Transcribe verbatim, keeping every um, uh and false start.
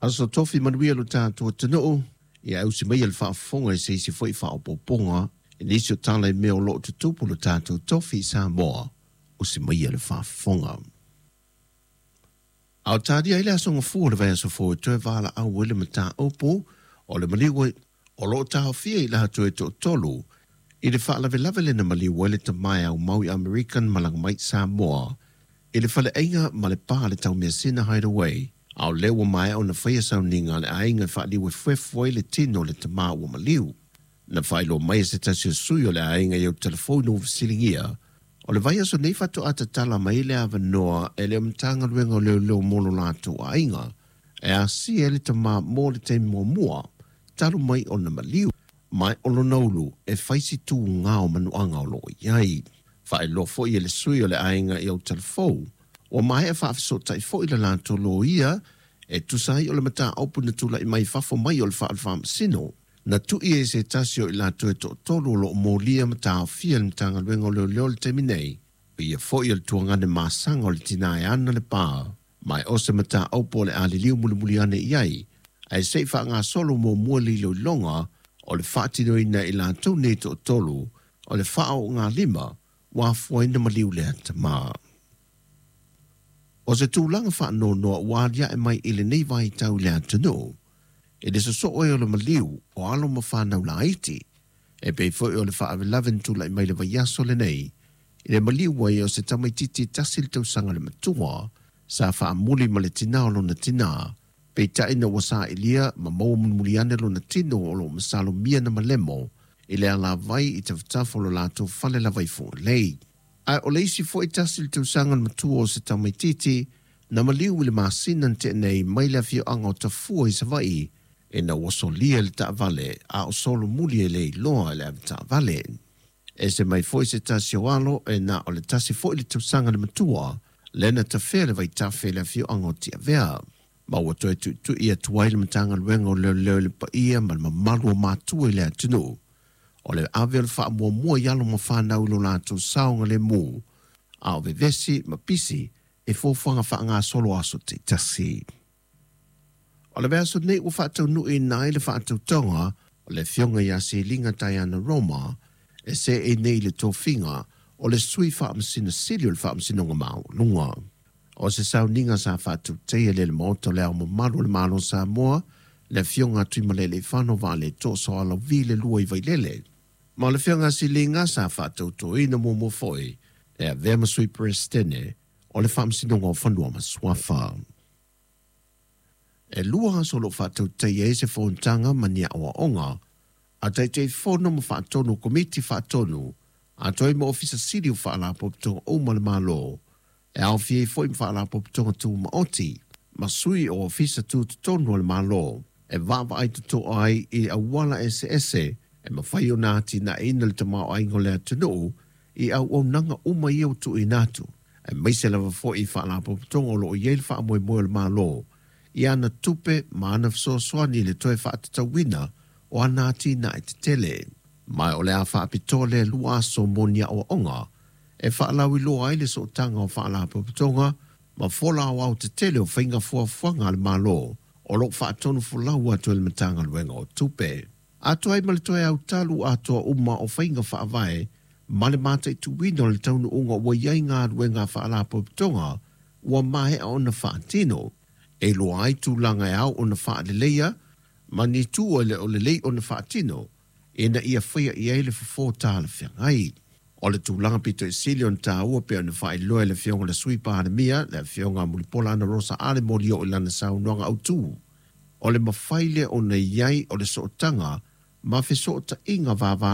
Aso tofi manuia lo tātou atunuu, ia ausi mai le faafofoga i se isi foi faaopoopoga i nisi o tala i mea o loo tutupu lo tātou tofi i Samoa, usi mai le faafofoga. A o talia ai le aso gafua o le vaiaso fou e toe valaau ai le mataupu o le maliu o loo taofia i latou e toatolu i le faalavelave lea na maliu ai le tama e aumau i Amerika na malaga mai i Samoa i le faleaiga ma le pa le Taumeasina Hideaway, a o lea ua maea ona faia sauniga a le aiga e faaliu efuefu ai le tino o le tamā ua maliu. Na faailoa mai e se tasi o sui o le aiga i au telefoni ua fesiligia, o le vaiaso nei faatoa tatala mai le avanoa e le Matagaluega o Leoleo mo lo latou aiga e asia ai le tamā mo le taimi muamua talu mai ona maliu, ma o lona ulu e fai si tuga o manuaga o loo i ai. Faailoa foi e le sui o le aiga i au telefou, ua maea faafesootai foi le latou loia e tusa ai o le mataupu na tulai mai fafo mai o le fale faamasino na tui e se tasi o i latou e toatolu o loo molia ma taofia le Matagaluega o Leoleo i le taimi nei, o ia foi o le tuagane masaga o le tina e ana le pa, ma e o se mataupu o le a liliu mulimuli ane i ai, ae se i faagasolo muamua le iloiloga o le faatinoina i latou nei toatolu o le faaoogalima ua afua ai ona maliu lea tamā. O se tulaga faanoanoa ua aliae mai i lenei vaitau i le atunuu, i le sosoo ai o le maliu o alo ma fanau laiti, e pei foi o le faalavelave na tulai mai le vaiaso lenei, i le maliu ai o se tamaitiiti tasi le tausaga le matua, sa faamuli ma le tinā o lona tinā, peitai ina ua sailia ma maua mulimuli ane lona tino o loo masalomia na malemo i le alavai i tafatafa o lo latou fale lava i Fugalei. Ae o le isi foi tasi le tausaga le matua o se tamaitiiti na maliu i le masina na tea nei mai le afioaga o Tafua i Savaii ina ua solia le taavale a o solomuli e le iloa e le avetaavale. Ese mai foi se tasi o alo e na o le tasi foi le tausaga le matua lea na tafea le vaitafe i le afioaga o Tiavea. Ma ua toe tuitui atu ai le Matagaluega o Leoleo i le paia ma le mamalu o matua i le atunuu o le ave o le faamuamua i alo ma fanau i lo latou saogalemu, a o vevesi ma pisi e fuafuaga faagasolo aso taitasi. O le vaiaso nei ua faataunuuina ai le faatautoga o le afioga ia Seliga Diana Roma e seei nei i le tofiga o le sui faamasino sili o le Faamasinoga Maualuga. O se sauniga sa faatautaia e le Maota o le Ao Mamalu o le Malo o Samoa, le afioga a Tuimalealiifano Vaaletoa Sualauvi le lua i Vailele. Ma o le afioga a Siliga sa faatautoina muamua foi e avea ma sui Peresetene o le Faamasinoga o Fanua ma Suafa. E lua aso o loo faatautaia ai se fonotaga ma ni aoaoga a Taitaifono ma faatonu o Komiti Faatonu atoa ai ma Ofisa Sili o Faalapotopotoga uma o le Malo, e aofia ai foi ma Faalapotopotoga Tumaoti ma sui o Ofisa Tutotonu o le Malo, e vaavaai totoa ai i auala eseese e mafai ona atinaeina le tamaoaiga o le atunuu i auaunaga uma ia ua tuuina atu, aemaise lava foi i Faalapotopotoga o loo i ai le faamoemoe o le Malo i ana tupe ma ana fesoasoani i le toe faatatauina o ana atinae tetele. Ma o le a faapitoa lea lua aso mo ni aoaoga e faalauiloa ai le sootaga o Faalapotopotoga ma fola aoao tetele o faiga fuafuaga a le Malo o loo faatonu folau atu e le Matagaluega o Tupe. Atoa ai ma le toe autalu atoa uma o faiga faavae ma le mataituina o le taunuuga ua i ai galuega a Faalapotopotoga ua maea ona faatino, e iloa ai tulaga e ao ona faaleleia ma ni itu e le o lelei ona faatino ina ia faia i ai le fofo talafeagai. O le tulaga pito i sili ona taua pei ona faailoa e le afioga i le Sui Palemia, le afioga a Mulipola Anarosa Ale Molioo i lana saunoaga autu, o le mafai lea ona i ai o le sootaga ma fesootaiga vava